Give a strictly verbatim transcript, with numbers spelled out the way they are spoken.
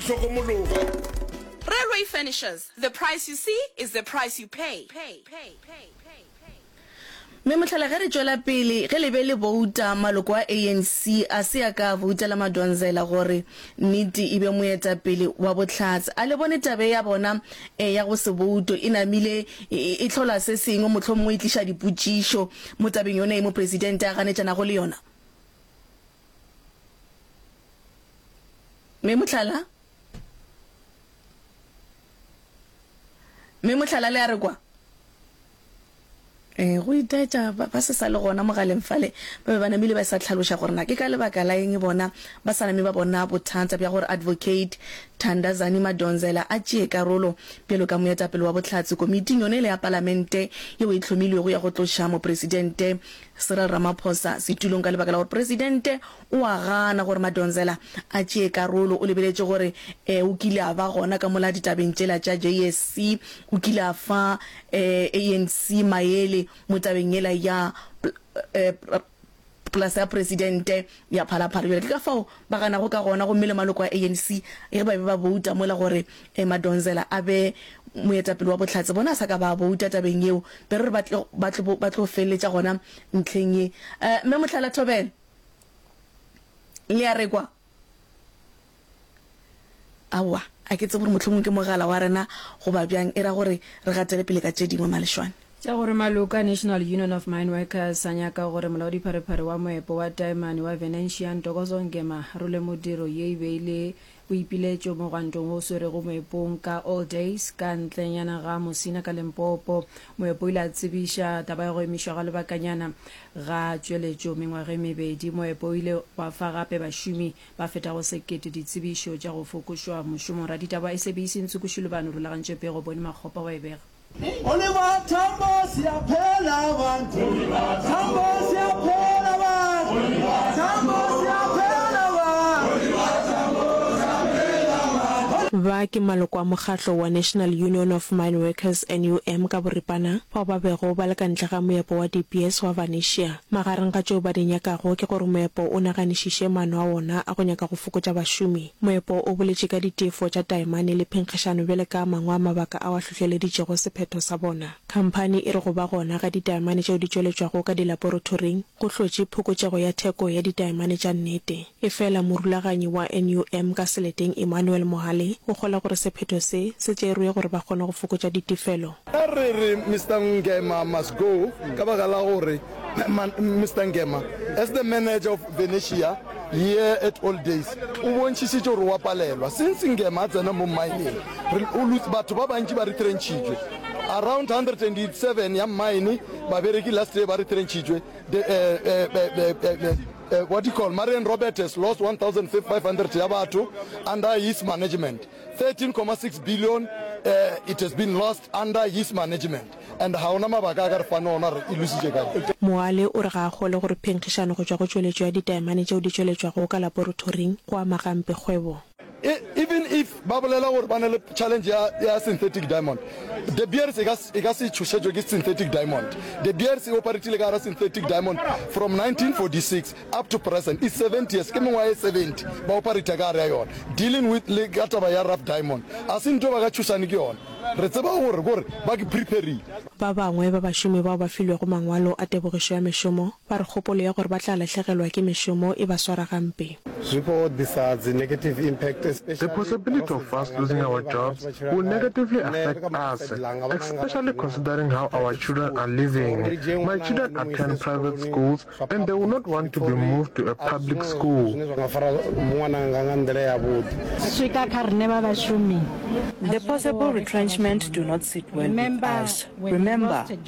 hlokomologa. Railway Furnishers, the price you see is the price you pay. pay, pay, pay, pay. Mme mohlala ge re tšwela pele, ge le be le bouta, maloko a ANC a se a ka a boutela Madonsela gore nnete e be moetapele wa bohlatse. A le bone tabe ya bona ya go se bouto e namile e hlola se sengwe, mohlomongwe e tliša dipotšišo mo tabeng yona ye mopresidente a ganetšanago le yona? Mme mohlala? Mme mohlala le a re kwa? Ee, go itaetša ba, ba se sa le gona mogaleng fale, ba be ba namile ba sa hlaloša gore na ke ka lebaka la eng bona ba sa name ba bona bothata bja gore Advocate Thandazani Madonsela a tšee karolo bjalo ka moetapele wa bohlatse komiting yona ele ya palamente yeo e hlomilwego ya go tloša Mopresidente Cyril Ramaphosa setulong ka lebaka la gore Presidente o a gana gore Madonsela a tšee karolo. O lebeletše gore e o kile a ba gona ka mola ditabeng tšela tša JSC, o kile a fa ANC maele mo tabeng yela ya polasa ya Presidente ya Phalaphala. Bjale ke ka fao ba ganago ka gona gomme le maloko a ANC ge ba be ba bouta mola gore Madonsela a be moetapele wa bohlatse bona a sa ka ba bouta tabeng yeo be re re ba tlo ba tlo ba tlo feleletša gona ntlheng ye. Mme Mohlala Thobela le a re kwa? Aowa, a ke tsebe gore mohlomongwe ke mogala wa rena goba bjang, e ra gore re gatele pele ka tše dingwe Malešwane. Tša gore maloko a National Union of Mineworkers a nyaka gore molaodipharephare wa moepo wa taemane wa Venetia Ntokozo Ngema a role modiro ye e be e le boipiletšo mogwantong wo o swerego moepong ka All Days ka ntlenyana ga Musina ka Limpopo. Moepo o ile a tsebiša taba ya go emišwa ga lebakanyana ga tšweletšo mengwaga e mebedi. Moepo o ile wa fa gape bašomi ba fetago sekete ditsebišo tša go fokošwa mošomong. Raditaba wa SABC Ntshuku Shilubane o rulagantše pego, Boni Makgopa wa e bega. Oliver Tambo siyaphela bantu Tambo siyaphela bantu Tambo siyaphela bantu Ba ke maloko a mokgatlo wa National Union of Mineworkers, NUM, ka boripana, bao ba bego ba le ka ntle ga moepo wa De Beers wa Venetia. Magareng ga tšeo ba di nyakago ke gore moepo o naganišiše maano a wona a go nyaka go fokotša bašomi. Moepo o boletše ka ditefo tša taemane le phenkgišano bjale ka a mangwe a mabaka ao a hlohleleditšego sephetho sa bona. Khamphani e re go ba gona ga ditaemane tšeo di tšweletšwago ka dilaporotoring go hlotše phokotšego ya theko ya ditaemane tša nnete. Efela morulaganyi wa NUM ka seleteng Emmanuel Mohale o kgolwa gore sephetho se se tšerwe gore ba kgone go fokotša ditefelo. Ge re re Mister Ngema must go ka baka la gore Mister Ngema as the manager of Venetia here at Old Days o bontšhišitše gore o a palelwa. Since Ngema a tsena mo mmineng re o lose batho ba bantši ba retrenchitšwe around hundred and seven ya mine babereki last year ba retrenchitšwe the uh, uh, uh, what do you call Marian Robert has lost one thousand five hundred ya batho under his management thirteen comma six billion uh, it has been lost under his management and ga ona mabaka a ka re fane ona re e lositše kae. Moale o re ga a kgolwe gore phenkgišano go tšwa go tšweletšo ya ditaemane tšeo di tšweletšwago ka laboratoring go ama gampe kgwebo. Even if ba bolela gore ba na le challenge ya, ya synthetic diamond, De Beers e ka, e ka se tšhošetšwe ke synthetic diamond. De Beers e operatile ka gara synthetic diamond from nineteen forty six up to present, it's seventy years, ke mengwaga e seventy ba operata ka gare ya yona, dealing with le ka taba ya rough diamond. A se ntho ba ka tšhošane ke yona. Re tseba gore, gore ba ke preparile. Ba bangwe ba bašomi bao ba filwego mangwalo a tebogišo ya mešomo ba re kgopolo ya gore ba tla lahlegelwa ke mešomo e ba swara gampe. Zwi khou ḓisa dzi negative impact The possibility of us losing our jobs will negatively affect us, especially considering how our children are living. My children attend private schools and they will not want to be moved to a public school. Zwine zwa nga fara ṅwananga nga nḓila yavhuḓi. Swika kha riṋe vha vhashumi. The possible retrenchment do not sit well with us. Remember,